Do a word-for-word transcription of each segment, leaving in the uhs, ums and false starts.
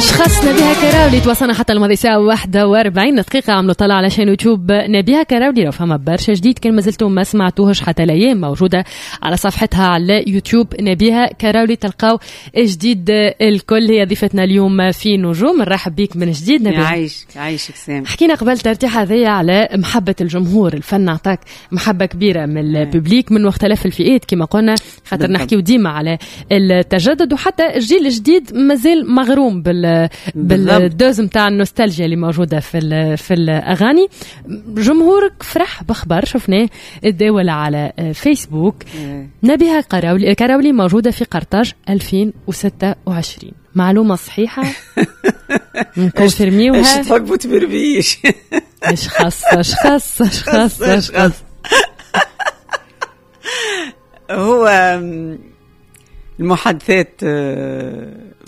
أشخاص نبيهة كراولي توصلنا حتى الماضي ساعة واحدة وأربعين دقيقة. عملوا طلع على chaîne يوتيوب نبيهة كراولي لو فما برشا جديد كان مازلتم ما سمعتوهش حتى الأيام، موجودة على صفحتها على يوتيوب نبيهة كراولي، تلقاو جديد الكل. هي ضيفتنا اليوم في نجوم، نرحب بيك من جديد نبيهة. يعيشك يعيشك سامي. حكينا قبل ترتيح هذايا على محبة الجمهور، الفن عطاك محبة كبيرة من ال public من مختلف الفئات كما قلنا، خاطر نحكيو ديما على التجدد، وحتى الجيل الجديد مازال مغروم بال بال dose نتاع النوستالجيا اللي موجودة في في الاغاني. جمهورك فرح بخبر شفناه تداول على فيسبوك، نبيهة كراولي كراولي موجودة في قرطاج ألفين وستة وعشرين. معلومة صحيحه؟ نكونفيرميوها؟ اش تحبوا تبربيش؟ اش خاص اش خاص اش خاص اش خاص. هو المحادثات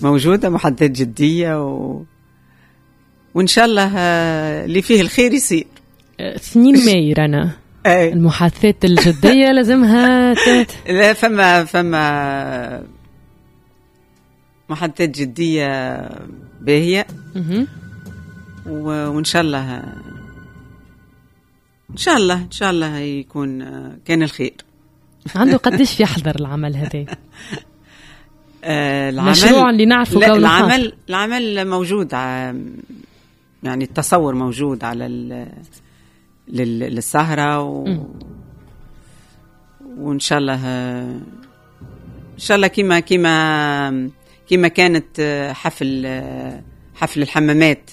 موجودة، محادثات جدية و... وإن شاء الله اللي فيه الخير يصير. اثنين ماي رانا المحادثات الجدية لازمها تت... لا فما فما محادثات جدية باهية و... وإن شاء الله إن شاء الله إن شاء الله يكون كان الخير. عنده قديش يحضر العمل هذا؟ العمل مشروع اللي نعرفه. لا العمل العمل موجود، يعني التصور موجود على للسهرة و... وإن شاء الله إن شاء الله كما كما كما كانت حفل حفل الحمامات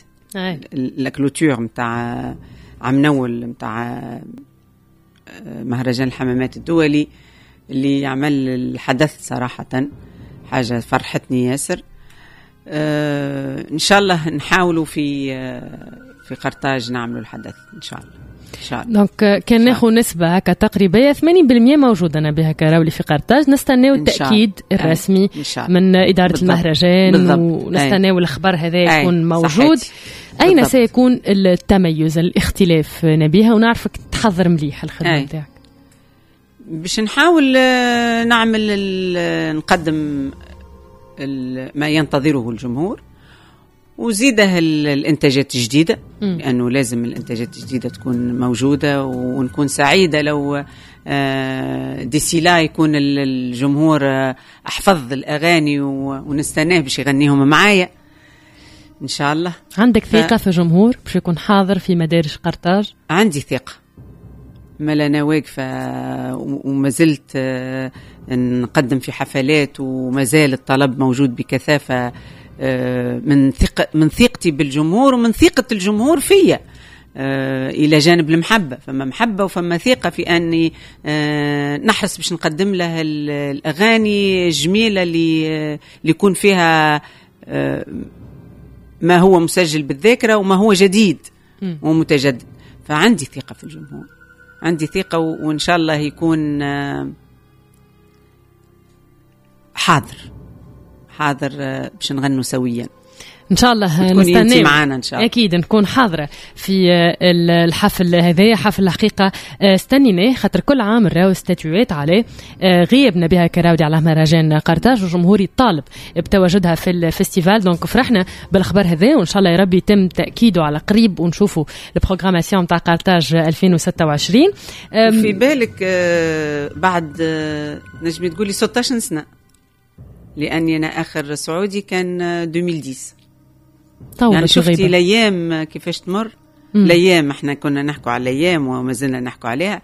la clôture متاع عام نول متاع مهرجان الحمامات الدولي اللي عمل الحدث، صراحة حاجة فرحتني ياسر. آه إن شاء الله نحاولوا في آه في قرطاج نعملوا الحدث إن شاء الله. إن شاء الله. donc كان ناخذ نسبة هكا تقريبية ثمانين بالمية موجودة نبيهة كراولي في قرطاج. نستناو التأكيد الرسمي من إدارة بالضبط. المهرجان بالضبط. ونستناو الخبر هذا يكون موجود. صحيح. أين بالضبط. سيكون التميز الاختلاف نبيهة، ونعرفك تحضر مليح الخدمة نتاعك؟ باش نحاول نعمل نقدم ما ينتظره الجمهور، وزيده الانتاجات الجديدة، لانه لازم الانتاجات الجديدة تكون موجودة، ونكون سعيدة لو d'ici là يكون الجمهور احفظ الاغاني ونستناه باش يغنيهم معايا ان شاء الله. عندك ثقة ف... في الجمهور باش يكون حاضر في مدارج قرطاج؟ عندي ثقة، ما انا واقفة وما زلت نقدم في حفلات وما زال الطلب موجود بكثافة، من ثقة من ثقتي بالجمهور ومن ثقة الجمهور فيا، الى جانب المحبة، فما محبة وفما ثقة في اني نحرص باش نقدم له الاغاني الجميلة اللي اللي يكون فيها ما هو مسجل بالذاكرة وما هو جديد ومتجدد. فعندي ثقة في الجمهور، عندي ثقة، وإن شاء الله يكون حاضر حاضر باش نغنوا سويا إن شاء الله. نستنى معنا إن شاء الله. أكيد نكون حاضرة في الحفل هذا، حفل الحقيقة استنيناه خاطر كل عام نراو ستاتيوات عليه غياب نبيهة كراولي على مهرجان قرطاج، وجمهوري طالب بتواجدها في ال festival. donc فرحنا بالخبر هذا، وإن شاء الله يا ربي يتم تأكيده على قريب ونشوفوا ال programmation تاع قرطاج ألفين وستة وعشرين. في بالك بعد نجمي تقولي ستة عشر سنة، لأني أنا آخر سعودي كان ألفين وعشرة. يعني شفتي الايام كيفاش تمر. الايام احنا كنا نحكوا على الايام وما زلنا نحكوا عليها.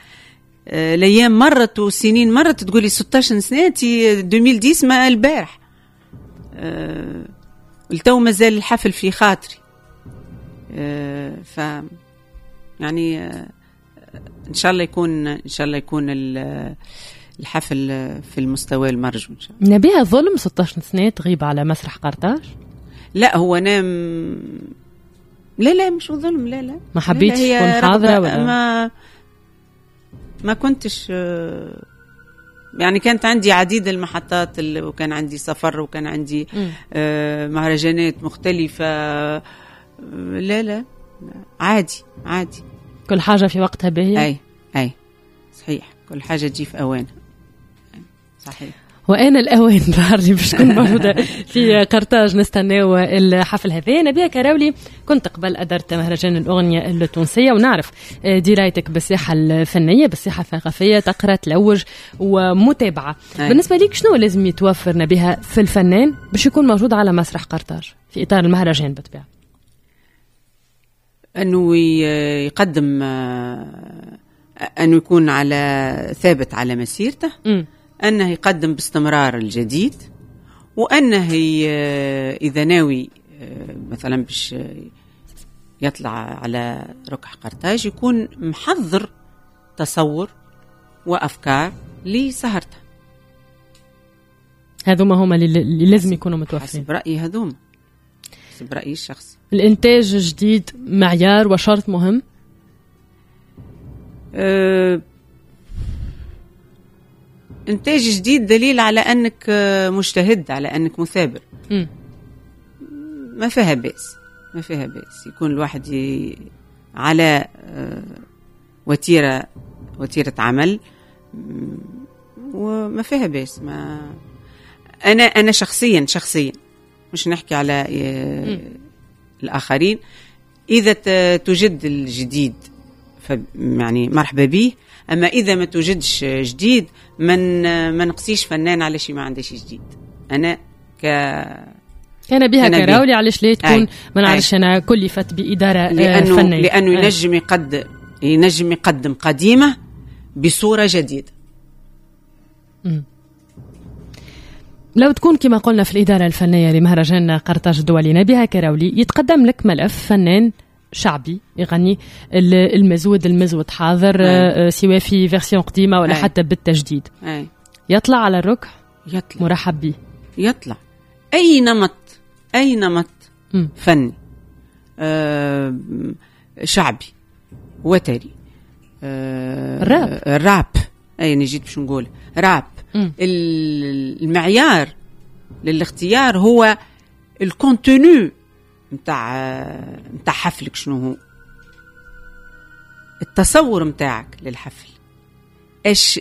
الايام مرت والسنين مرت، تقولي ستة عشر سنة ألفين وعشرة ما البارح. أه التو مازال الحفل في خاطري. أه ف يعني أه ان شاء الله يكون ان شاء الله يكون الحفل في المستوى المرجو ان شاء الله. نبيهة ظلم ستة عشر سنة تغيب على مسرح قرطاج؟ لا هو انا م... لا لا مش ظلم، لا لا ما حبيتش تكون حاضره ولا ما ما كنتش، يعني كانت عندي عديد المحطات وكان عندي سفر وكان عندي م. مهرجانات مختلفة. لا لا عادي عادي، كل حاجة في وقتها باهيه. اي اي صحيح، كل حاجة تجي في اوانها. صحيح. وأنا الأوان ظهر لي باش تكون موجودة في قرطاج، نستناو الحفل هذا. نبيهة كراولي، كنت قبل أدرت مهرجان الأغنية التونسية ونعرف درايتك بالساحة الفنية، بالساحة الثقافية، تقرأ، تلوج ومتابعة. أي. بالنسبة ليك شنو لازم يتوفر نبيهة في الفنان باش يكون موجود على مسرح قرطاج في إطار المهرجان بالطبيعة؟ أنه يقدم، أنه يكون على ثابت على مسيرته، م. أنه يقدم باستمرار الجديد، وأنه إذا ناوي مثلا باش يطلع على ركح قرطاج يكون محضر تصور وأفكار لسهرته. هذوما هما اللي لازم يكونوا متوفرين حسب رأيي، هذوما حسب رأيي الشخصي. الإنتاج الجديد معيار وشرط مهم. أه إنتاج جديد دليل على أنك مجتهد، على أنك مثابر. م. ما فيها بأس، ما فيها بأس يكون الواحد ي... على وتيرة وتيرة عمل، وما فيها بأس. ما أنا أنا شخصيا شخصيا مش نحكي على م. الآخرين، إذا توجد الجديد يعني مرحبا به، أما إذا ما توجدش جديد من ما نقصيش فنان على شيء ما عندهش جديد. أنا ك كان بها كراولي علاش ليه تكون ما نعرفش أنا كلفت بإدارة لأنه فنية، لأنه ينجم يقدم ينجم يقدم قديمة بصورة جديدة. م. لو تكون كما قلنا في الإدارة الفنية لمهرجان قرطاج الدولي نبيهة كراولي، يتقدم لك ملف فنان شعبي يغني المزود، المزود حاضر، أي. سواء في version قديمة ولا أي. حتى بالتجديد. أي. يطلع على الركح، يطلع مرحب به، يطلع أي نمط، أي نمط م. فني، آه، شعبي، وتري، آه، الراب، الراب، أي أنا جيت باش نقول راب. م. المعيار للاختيار هو ال contenu متاع متاع حفلك، شنو هو التصور متاعك للحفل، ايش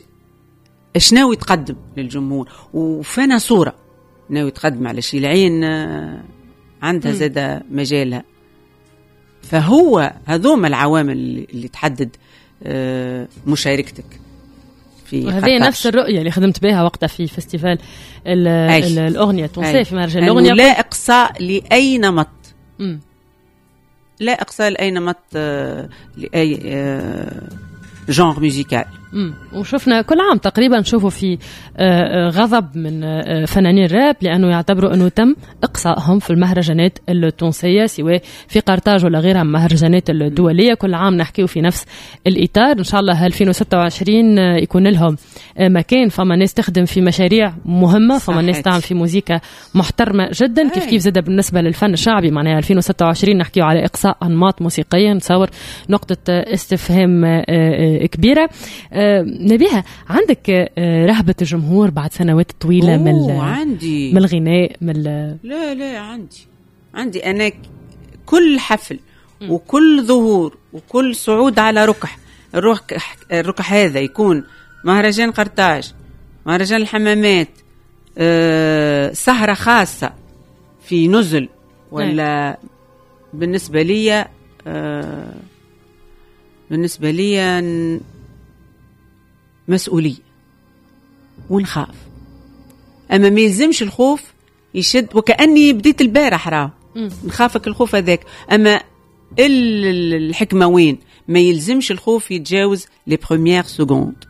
ايش ناوي تقدم للجمهور، وفانا صورة ناوي تقدم على شي العين عندها زادة مجالها. فهو هذوما العوامل اللي تحدد مشاركتك في وهذه نفس الرؤية اللي خدمت بها وقتها في festival الأغنية التونسية في مهرجان الأغنية. لا إقصاء لأي نمط، م. لا إقصاء لأي نمط، لأي genre musical. وشفنا كل عام تقريبا نشوفوا في غضب من فنانين الراب لأنه يعتبروا أنه تم إقصائهم في المهرجانات التونسية سواء في قرطاج ولا غيرها من المهرجانات الدولية. كل عام نحكيه في نفس الإطار. إن شاء الله ألفين وستة وعشرين يكون لهم مكان. فما ناس تخدم في مشاريع مهمة، فما ناس تعمل في موزيكا محترمة جدا. كيف كيف زاد بالنسبة للفن الشعبي، معناها ألفين وستة وعشرين نحكيه على إقصاء أنماط موسيقية، نتصور نقطة استفهام كبيرة. نبيهة، عندك رهبة الجمهور بعد سنوات طويلة من عندي. من الغناء من لا لا عندي عندي أنا كل حفل وكل ظهور وكل صعود على ركح، الركح, الركح هذا يكون مهرجان قرطاج، مهرجان الحمامات، أه، سهرة خاصة في نزل، ولا بالنسبة لي أه، بالنسبة لي مسؤولية ونخاف. أما ما يلزمش الخوف يشد، وكأني بديت البارح راه نخافك الخوف هذاك. أما الحكمة وين ما يلزمش الخوف يتجاوز les premières secondes،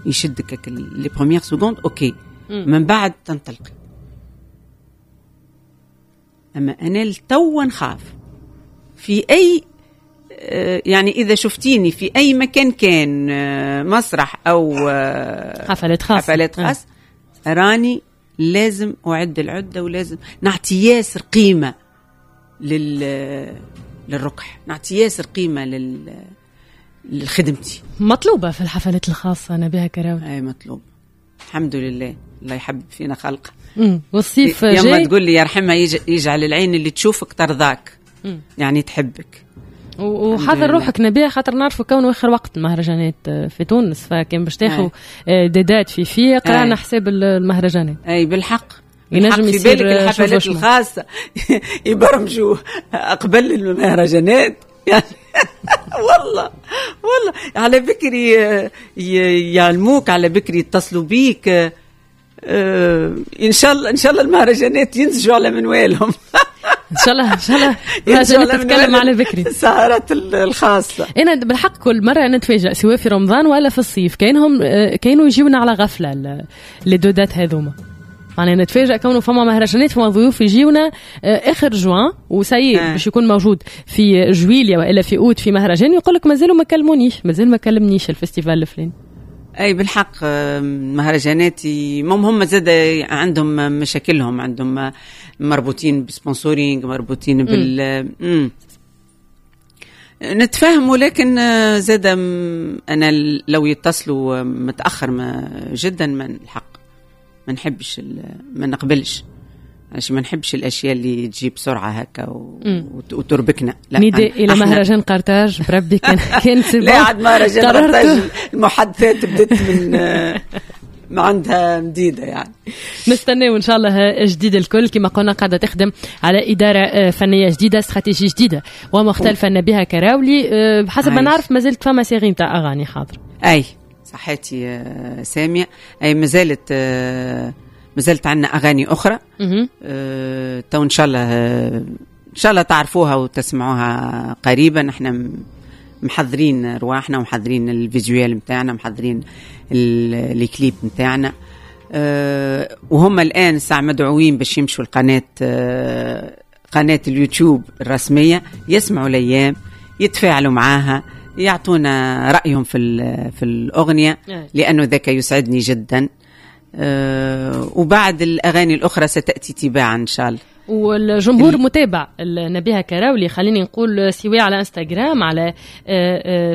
يشدك les premières secondes OK، من بعد تنطلقي. أما أنا لتو نخاف في أي، يعني إذا شفتيني في أي مكان كان مسرح أو حفلات خاصة، حفلات خاصة، راني لازم أعد العدة ولازم نعطي ياسر قيمة لل للركح، نعطي ياسر قيمة لل لخدمتي. مطلوبة في الحفلات الخاصة نبيهة كراولي؟ أي مطلوب، الحمد لله، الله يحب فينا خلقه. والصيف جاي يما تقول لي يرحمها يجعل العين اللي تشوفك ترضاك، مم. يعني تحبك. وحضر روحك نبيه، خاطر نعرفوا كونه اخر وقت المهرجانات في تونس، فكان باش تاخذ des dates في في قرانا حساب المهرجانات. اي بالحق، ينجم في بالك الحفلات الخاصة يبرمجوا قبل المهرجانات يعني. والله والله على بكري يعلموك، على بكري يتصلوا بيك. ان شاء الله ان شاء الله المهرجانات ينسجوا على منوالهم. ان شاء الله ان شاء الله المهرجانات تتكلم على بكري السهرات الخاصة. انا بالحق كل مرة انا نتفاجئ سواء في رمضان ولا في الصيف، كانهم كانوا يجيونا على غفلة les deux dates هذوما. معناها نتفاجئ كونه فما مهرجانات، فما ضيوف يجيونا اخر جوان وساير آه. باش يكون موجود في جويليا والا في اوت في مهرجان، ويقول لك مازالوا ما كلمونيش، مازال ما كلمنيش ال festival الفلاني. اي بالحق مهرجانات هم زاد عندهم مشاكلهم، عندهم مربوطين ب sponsoring، مربوطين بال مم. نتفاهم، ولكن زاد انا لو يتصلوا متاخر ما جدا من الحق ما نحبش، ما نقبلش، عشان ما نحبش الاشياء اللي تجي بسرعة هكا و... وتربكنا. لا نداء الى مهرجان قرطاج بربي كان كان لا عاد مهرجان قرطاج المحادثات بدت من ما عندها مديدة يعني. نستناو ان شاء الله جديد الكل. كما قلنا قاعدة تخدم على ادارة فنية جديدة، استراتيجية جديدة ومختلفة نبيهة كراولي. بحسب ما نعرف مازالت فما série نتاع اغاني حاضره. اي صحيتي سامية، اي مازالت مازالت عندنا اغاني اخرى أه، تو ان شاء الله ان شاء الله تعرفوها وتسمعوها قريبا. احنا محضرين رواحنا ومحضرين ال visuel نتاعنا، محضرين الكليب نتاعنا، أه، وهم الان ساعة مدعوين باش يمشوا القناة، أه، قناة اليوتيوب الرسمية، يسمعوا الايام، يتفاعلوا معاها، يعطونا رايهم في في الاغنية، لانه ذاك يسعدني جدا. أه وبعد الأغاني الأخرى ستأتي تباعا إن شاء الله. والجمهور متابع نبيهة كراولي، خليني نقول سواء على انستغرام، على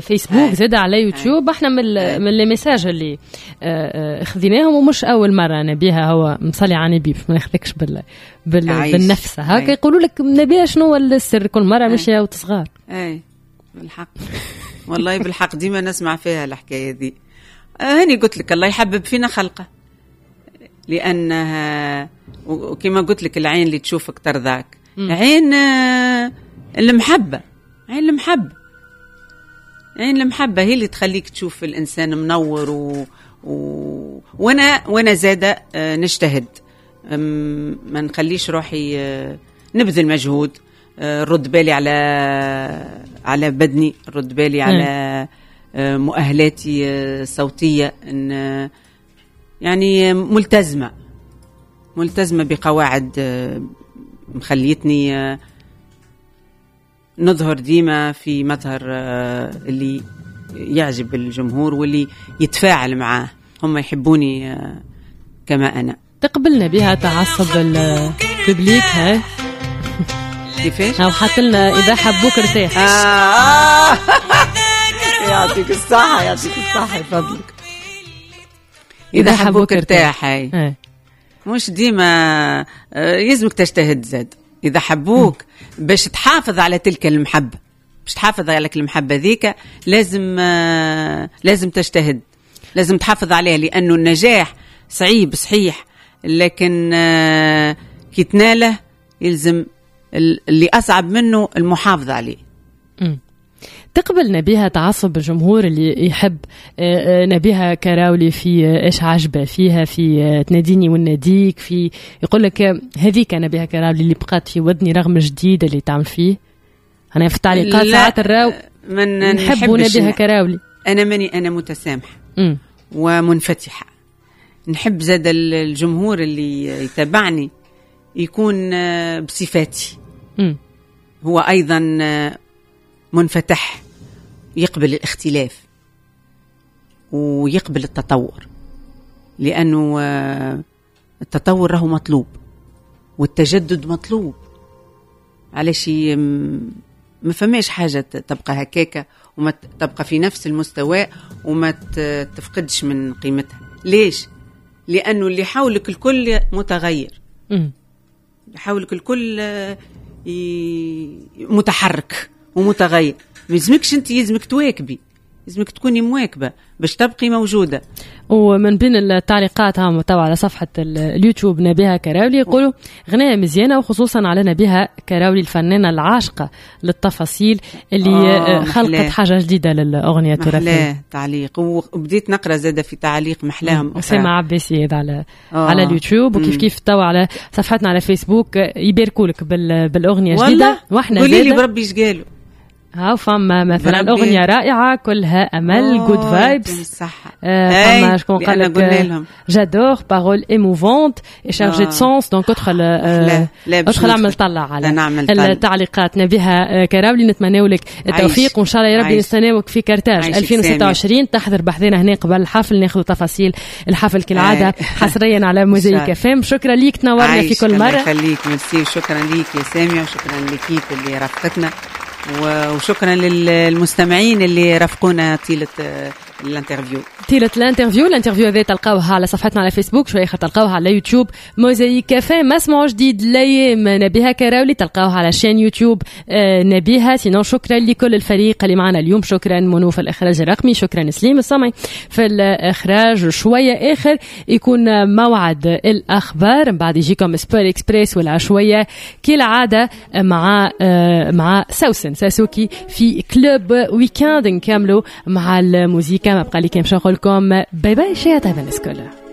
فيسبوك، زاد على يوتيوب. احنا من من les messages اللي خذيناهم، ومش اول مرة نبيهة هو مصلي على النبي، ما ناخذكش بال, بال بالنفس هكا يقولوا لك نبيهة شنو هو السر، كل مرة مشيه وتصغار. اي بالحق والله بالحق ديما نسمع فيها الحكاية دي. هاني قلت لك الله يحبب فينا خلقه، لأنها وكما قلت لك العين اللي تشوفك ترضاك، عين المحبة، عين المحبة، عين المحبة هي اللي تخليك تشوف الإنسان منور. و... و... وأنا وأنا زادة نجتهد، ما نخليش روحي، نبذل مجهود، رد بالي على على بدني، رد بالي على مؤهلاتي الصوتية، إن يعني ملتزمة ملتزمة بقواعد مخليتني نظهر ديما في مظهر اللي يعجب الجمهور واللي يتفاعل معاه، هم يحبوني كما أنا. تقبلنا بها تعصب ال public ها كيفاش؟ أو حط لنا إذا حبوك ارتاح. آه يعطيك الصحة، يعطيك الصحة يفضلك. إذا حبوك ارتاح، هاي مش ديما يلزمك تجتهد زاد. إذا حبوك باش تحافظ على تلك المحبة، باش تحافظ على المحبة ذيك لازم لازم تجتهد، لازم تحافظ عليها، لأنه النجاح صعيب صحيح، لكن كي تناله يلزم اللي أصعب منه المحافظة عليه. م. تقبل نبيهة تعصب الجمهور اللي يحب نبيهة كراولي في إيش عجبة فيها، في تناديني وناديك، في يقول لك هذيك نبيهة كراولي اللي بقات في ودني رغم الجديد اللي تعمل فيه. أنا في التعليقات ساعات الراو من نحب نبيهة كراولي. أنا ماني أنا متسامحة ومنفتحة، نحب زاد الجمهور اللي يتابعني يكون بصفاتي. م. هو أيضا منفتح، يقبل الاختلاف ويقبل التطور، لأنه التطور راهو مطلوب والتجدد مطلوب. علاش ما فماش حاجة تبقى هكاكة وما تبقى في نفس المستوى وما تفقدش من قيمتها. ليش؟ لأنه اللي حولك الكل متغير، اللي حولك الكل متحرك ومتغير. ما يلزمكش انت، يلزمك تواكبي، لازمك تكوني مواكبة باش تبقي موجودة. ومن بين التعليقات هم توا على صفحة اليوتيوب نبيهة كراولي يقولوا غناية مزيانه، وخصوصا على نبيهة كراولي الفنانة العاشقه للتفاصيل اللي آه خلقت حاجة جديدة للاغنية التراثية. تعليق، وبديت نقرا زاده في تعليق محلاهم اسامة عباسي على آه. على اليوتيوب، وكيف كيف توا على صفحتنا على فيسبوك يباركوا لك بالاغنيه الجديدة. واحنا قولي لي بربي ايش قالوا. ها فما مثلا أغنية رائعة كلها أمل، good vibes. صح. فما شكون قال لك j'adore، paroles émouvantes et chargées de sens. donc ادخل ادخل اعمل طلع على التعليقات. نبيهة كراولي نتمناو لك التوفيق، وإن شاء الله يا ربي نستناوك في كرتاج ألفين وستة وعشرين تحضر بحذنا هنا قبل الحفل، ناخذ تفاصيل الحفل كالعادة حصريا على موزايك اف ام. شكرا ليك، تنورنا في كل مرة. يخليك، ميرسي، وشكرا ليك يا سامية، وشكرا l'équipe اللي رافقتنا، وشكرا للمستمعين اللي رافقونا طيلة l'interview. طيلة l'interview، l'interview هذا تلقاوها على صفحتنا على فيسبوك، شوية اخر تلقاوها على يوتيوب موزايك اف ام. مسموع جديد الايام نبيهة كراولي تلقاوها على chaîne يوتيوب نبيهة. sinon شكرا لكل الفريق اللي معنا اليوم، شكرا منو في الاخراج الرقمي، شكرا سليم الصمعي في الاخراج. شوية اخر يكون موعد الاخبار، من بعد يجيكم Sport Express والعشويه كالعادة مع مع سوسن ساسوكي في Club Weekend. نكملوا مع الموسيقى، ما بقى لي كان باش نقول لكم bye bye، شي طيب الناس كلها.